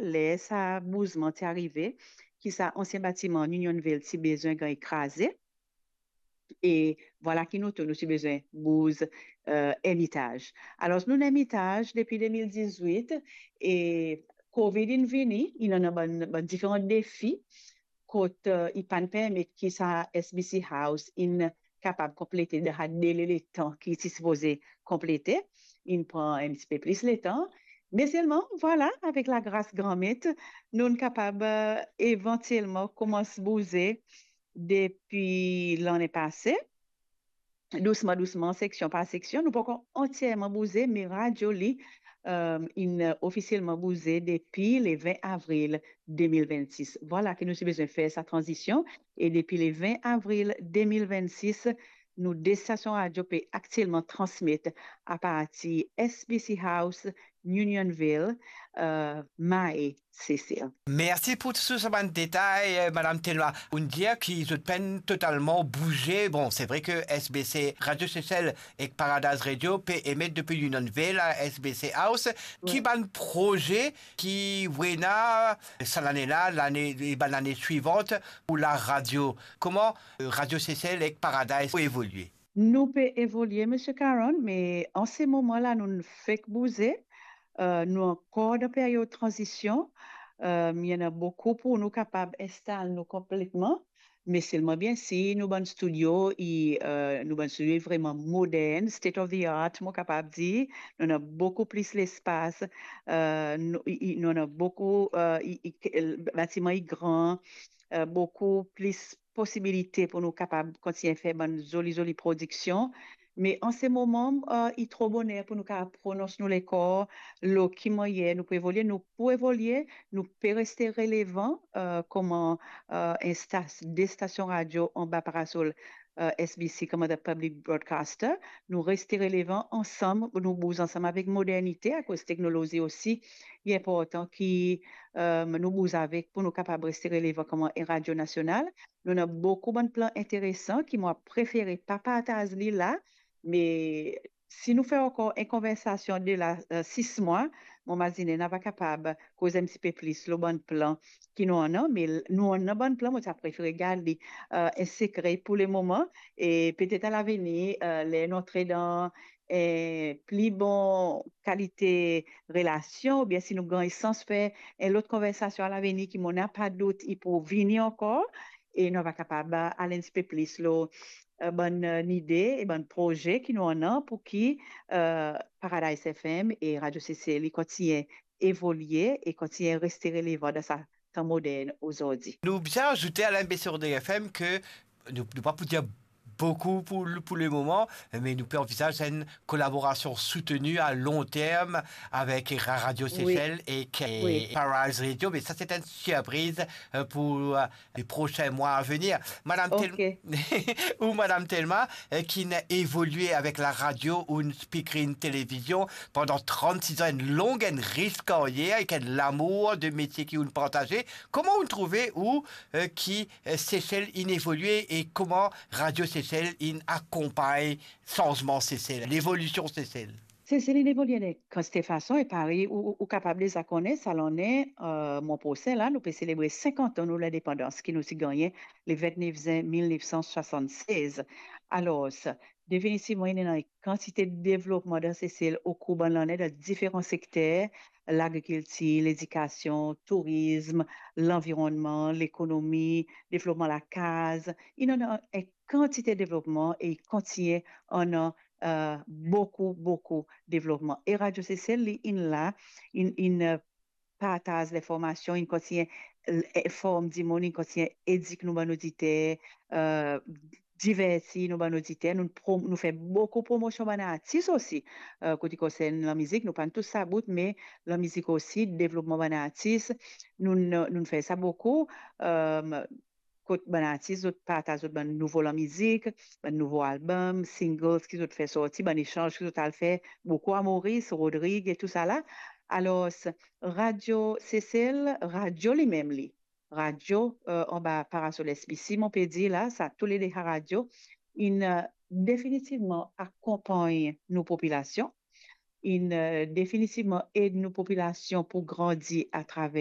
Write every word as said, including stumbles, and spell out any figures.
ler sa bouzman ti arive, ki sa ansien batiman Unionville ti bizin gagn kraze. E vwala ki nou tou, nou ti bizin bouz, eh, enn etaz. Alor, nou ena enn etaz depi de mil dizwit, e Covid inn vini, inn ena bann, bann diferan defi, kot, eh, li pa'nn permet ki sa S B C House inn kapab konplete dan sa dele letan ki ti sipoze konplete, inn pran enn tipe plis letan. Me selman, vwala, avek lagras Granmet, nou'nn kapab, eh, evantielman koumans bouze depi lane pase, dousman, dousman, seksion par seksion. Nou pankor antierman bouze, me radio li, eh, inn ofisielman bouze depi le vin avril de mil vennsis. Vwala ki nou ti bizin fer sa tranzision, e depi le vin avril de mil vennsis, nou de stasion radio pe aktielman transmet apartir S B C House, Unionville, eh, Mahé, Sesel. Mersi pou tou sa bann detay, eh, Madam Thelma. Ou'nn dir ki zot pa'nn totalman bouze. Bon, se vre ki S B C Radio Sesel ek Paradise Radio pe emet depi Unionville a S B C House. Ki bann proze ki ou ena sa lane la, lane, e bann lane swivan pou laradio? Kouma, eh, Radio Sesel ek Paradise pou evolie? Nou pe evolie, Misie Caron, me an se moman la, nou fek bouze. Eh, nou ankor dan period tranzision. Eh, ena boukou pou nou kapab instal nou konpletman. Me selman, biensir, nou bann studio, i, eh, nou bann studio i vreman modern, state of the art, mo kapab dir. Nou ena boukou plis lespas. Eh, nou, i, i, nou ena boukou, eh, i, i, batiman i gran, eh, boukou plis posibilite pou nou kapab kontign fer bann zoli, zoli prodiksion. Me an se moman, eh, i tro boner pou nou kapav pronons nou lekor lor ki mannyer nou pou evolie. Nou pou evolie, nou pe reste relevan, eh, kouma, eh, enn stas-, de stasion radio anba parasol, eh, S B C, kouma the public broadcaster. Nou reste relevan ansam, nou bouz ansam avek modernite, akoz teknolozi osi, li inportan ki, eh, nou bouz avek pou nou kapab reste relevan kouma enn radio nasional. Nou ena boukou bann plan interesan ki mo prefere pa partaz li la, me si nou fer ankor enn konversasion de la, eh, sis mwa, mo mazine nou ava kapab koz enn tipe plis lor bann plan ki nou ena, me l-, nou ena bann plan, mo ti a prefere gard li, eh, enn sekre pou lemoman, e petet a lavenir, eh, ler nou antre dan, eh, pli bon kalite relasion, oubien si nou gagn sans fer enn lot konversasion a lavenir ki mo napa dout i pou vini ankor, e nou ava kapab al enn tipe plis lor, eh, bann, eh, lide e bann proze ki nou ena pou ki, eh, Paradise F M e Radio Sesel i kontign evolie e kontign reste relevan dan sa tan modern ozordi. Nou bizin azoute, Alain, be sur D F M, ki nou, nou pa pou dir boukou pou, pou lemoman, me nou pe anvizaz enn kolaborasion souteni a long term avek Ra-, Radio Sesel ek, eh, Paradise Radio, me sa se enn sirpriz, eh, pou, eh, les prochains mois à venir. Madam Tel-, ou Madam Thelma, eh, ki'nn evolie avek laradio, ou'nn speaker enn televizion pandan trannsis an, enn long, enn ris karyer, avek enn lamour de metie ki ou'nn partaze. Kouma ou'nn trouve ou, eh, ki, eh, Sesel inn evolie e kouma Radio Sesel inn akonpagn sanzman Sesel, levolision Sesel? Sesel inn evolie dan kantite fason, e parey ou, ou, ou kapab deza kone, sa lane, eh, mwa prosin la, nou pe selebre sinkant an nou lindepandans ki nou ti gagne le vintnef zin mil nef san swasann-sez. Alor, definitivman, ena enn kantite devlopman dan Sesel okour bann lane dan diferan sekter, lagrikiltir, ledikasion, tourizm, lanvironnman, lekonomi, devlopman lakaz. Ena enn kantite devlopman e i kontign ena, eh, boukou, boukou devlopman. E Radio Sesel, li inn la, inn, inn, eh, partaz linformasion, inn kontign, eh, inform dimoun, inn kontign edik nou bann oditer, eh, diverti nou bann oditer. Nou prom-, nou fer boukou promosion bann artis osi. Eh, kot i konsern lamizik, nou pa'nn tous sa bout, me lamizik osi, devlopman bann artis, nou, nou, nou fer sa boukou. Eh, kot bann artis, zot partaz zot bann nouvo lamizik, bann nouvo album, singles ki zot fer sorti, bann esanz ki zot al fer, boukou a Moris, Rodrig e tousala. Alor, Radio Sesel, radio limem li, radio, eh, anba parasol S B C, mo pe dir la, sa toulede radio, inn, eh, definitivman akonpagn nou popilasion, inn, eh, definitivman ed nou popilasion pou grandi atraver